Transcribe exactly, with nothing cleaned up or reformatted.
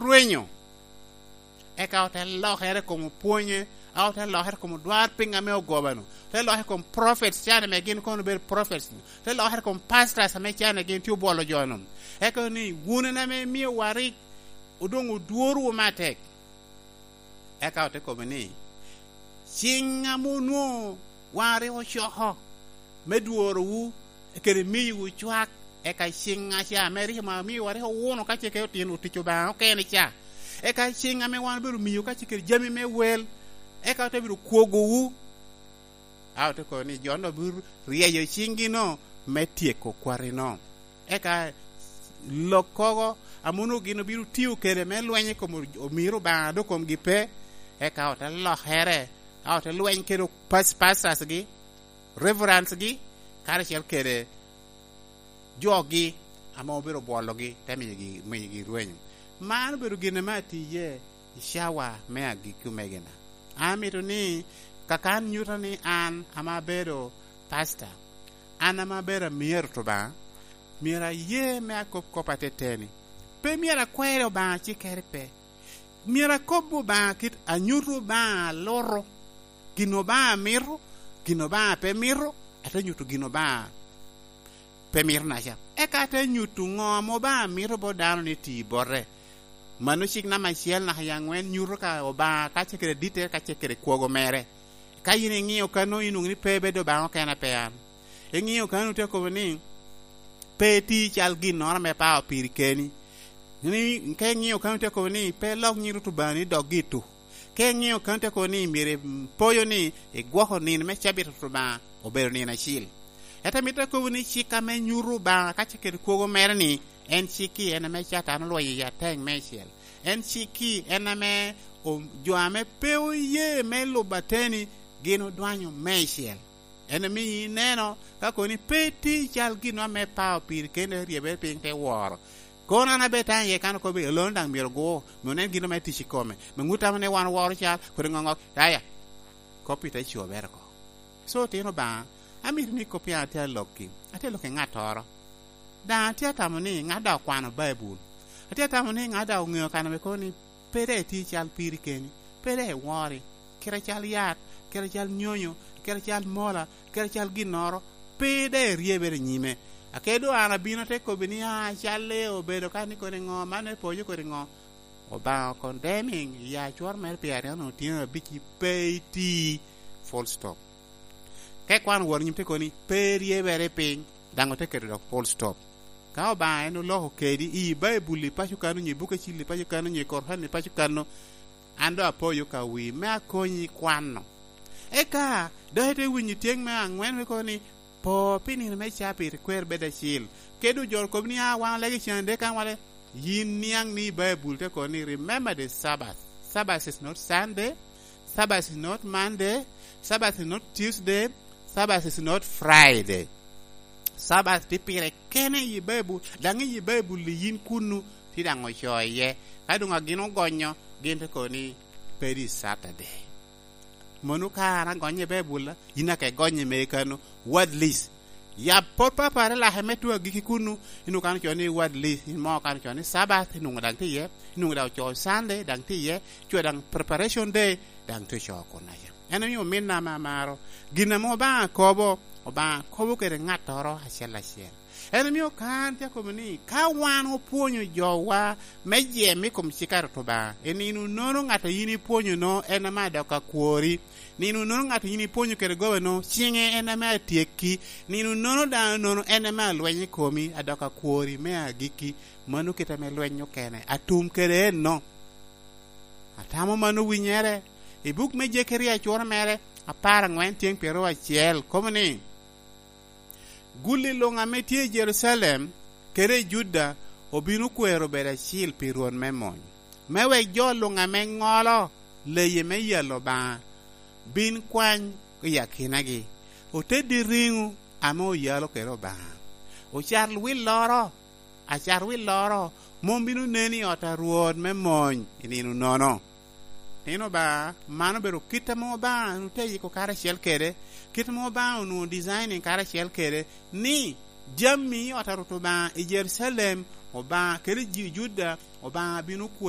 rwenyo. Eka ote lokere i kom opwonye, a ote lokere i kom odwar piny ame ogobano, ote lokere i kom prophets, can ame gin kono obedo prophets, ote lokere i kom pastors ame can ame gin tye obwolo jo-nu. Eka ni, "Wun en ame imiowa rik odoŋ odworowu matek." Eka ote kobo ni, "Ciŋ ame onwoŋo wan rik ocoko me dworowu kede miyowu cwak, eka ciŋ aca ame rik omio amiwa rik owuno ka ce kede otino otic Obaŋa okene ca, eka ciŋ ame wan obedo miyo ka ce kede jami me wel, eka ote bedo kwogowu." A ote kobo ni, "Jo-nu obino ryeyo ciŋgi-nu me tyeko kwati-nu." Eka lok kogo a mono gin obino tio kede me lweny i kom omiro Obaŋa dok komgi pe, eka ote lokere, a ote lweny kede pas-, pastors-gi, reverends-gi, karacel kede jogi ame obedo bwologi, te miyogi, miyogi rwenyo. Man obedo gin ame atiye i cawa me agikki, omegina. An amito ni, kakan nyuto ni an ame abedo pastor, an ame abedo amyero to Obaŋa, myero aye me akob kop ateteni. Pe myero akwero Obaŋa cikere pe. Myero akob Obaŋa kit anyuto Obaŋa aluto. Gin Obaŋa mito, gin Obaŋa pe mito, ate nyuto gin Obaŋa pe mito naca. Eka ate nyuto ŋo ame Obaŋa mito bot dano ni ti bote. Mano cik namba acel naka i aŋwen nyuto ka Obaŋa ka ce kede ditte, ka ce kede kwogo mere. Ka yin iŋio kano, inwoŋo ni pe bedo Obaŋa okene pe an. Iŋio kano, te kobo ni, "Pe iti cal ginnoro ame pao piri keni." Ni, ka iŋio kano, te kobo ni, "Pe ilok nying Rwot Obaŋani dok gitu." Ka iŋio kano, te kobo ni, "Myero ipoyo ni igwoko nino me cabit Rwot Obaŋa obedo nino acil." Ento amito akobo ni cik ame nyuto Obaŋa ka ce kede kwogo mere ni, en cik-ki en ame Catan olwenyo i ateŋ meicel. En cik-ki en ame o-, jo ame pe oye me lubo ateni gin odwanyo meicel. En ame ineno ka kono ni pe iti cal gin ame pao piri kende, ryebere piny te woro. Kono an abed taŋ iye kan okobo, olono daŋ myero ogu, me onen gin ame tic i kome, me ŋut tamo ni wan oworo cal, kodi ŋoŋok, aya, kop-pi te cobere oko. So, otino Obaŋa, amito ni kop-pi an atye alokki, atye alokki ŋattoro. Daŋ atye atamo ni ŋat daŋ okwano Baibul. Atye atamo ni ŋat daŋ oŋeo kan ame kono ni pe daŋ iti cal piri keni, pe daŋ iwori, kite cal yat, kite cal nyonyo, kite cal mola, kite cal ginnoro, pe daŋ iryebere i nyime. Ake doŋ an abino te kobbi ni, "Ah, calle obedo ka ni kodi ŋo, man me poyo kodi ŋo?" Obaŋa condemning i acwor mere pi aryo otino abic-ci pe iti, full stop. Ka ikwano woro nyim te koni, pe iryebere piny, daŋ ote keto dok full stop. Ka Obaŋa en oloko kedi i Baibul i paco kano, nyo i buk acil i paco kano, nyo i Koran i paco kano, an doŋ apoyo ka wi me akonyi kwano. Eka, dok ite winyo tyeng me aŋwen me kono ni, po pi nino me cabit kwer bed acil. Kede ojoro kop ni, "Ah, wan olege can de kan wale." Yin niaŋ ni Baibul te kono ni, "Remember the Sabbath. Sabbath is not Sunday. Sabbath is not Monday. Sabbath is not Tuesday. Sabbath is not Friday." Sabbath tye pire kene i Baibul, daŋ i Baibul i yin kunnu, ti daŋ ocoo iye. Ka doŋ agin ogonyo, gin te kono ni, "Pe di Saturday." Mono ka an agonye i Baibul, yin ake gonye me kano, what list? Yab pot papare lake me tuo agikki kunnu, inwoŋo kano co ni what list, in mo kano co ni Sabbath, inwoŋo daŋ tye iye, inwoŋo daŋ ocoo Sunday, daŋ tye iye, co daŋ preparation day, daŋ tye ocoo kunaca. En omio ominna ame amaro, gin ame Obaŋa kobo, Obaŋa kobo kede ŋattoro acel acel. En omio kan tye akobo ni, ka wan opwonyo jowa me jem i kom cik a Rwot Obaŋa, i nino nono ŋat a yin ipwonyo-no en ame adok akwori. Nino nono ŋat a yin ipwonyo kede goba-no, ciŋe en ame atyekki. Nino nono dano nono en ame alweny i komi, adok akwori me agikki. Mano kite ame lweny okene. Atum kede enno. Atamo mano winyere. I buk me Jekeria acwora mere, apar aŋwen tyeng pyeraryo acel, kobo ni, "Gulli luŋ ame tye i Jerucalem kede i Juda obino kwero bedo acil pi Rwot me mony, me wek jo luŋ ame ŋolo leye me yalo Obaŋa bin kwany i akinagi, oteddi riŋo ame oyalo kede Obaŋa, ocar willoro, acar willoro mom bino nen i ot a Rwot me mony i nino nono." Nino Obaŋa, man obedo kit ame Obaŋa onwoŋo te yiko karacel kede, kit ame Obaŋa onwoŋo designing karacel kede, ni jami i ot a Rwot Obaŋa i Jerucalem, Obaŋa kede ji Juda, Obaŋa bino kwe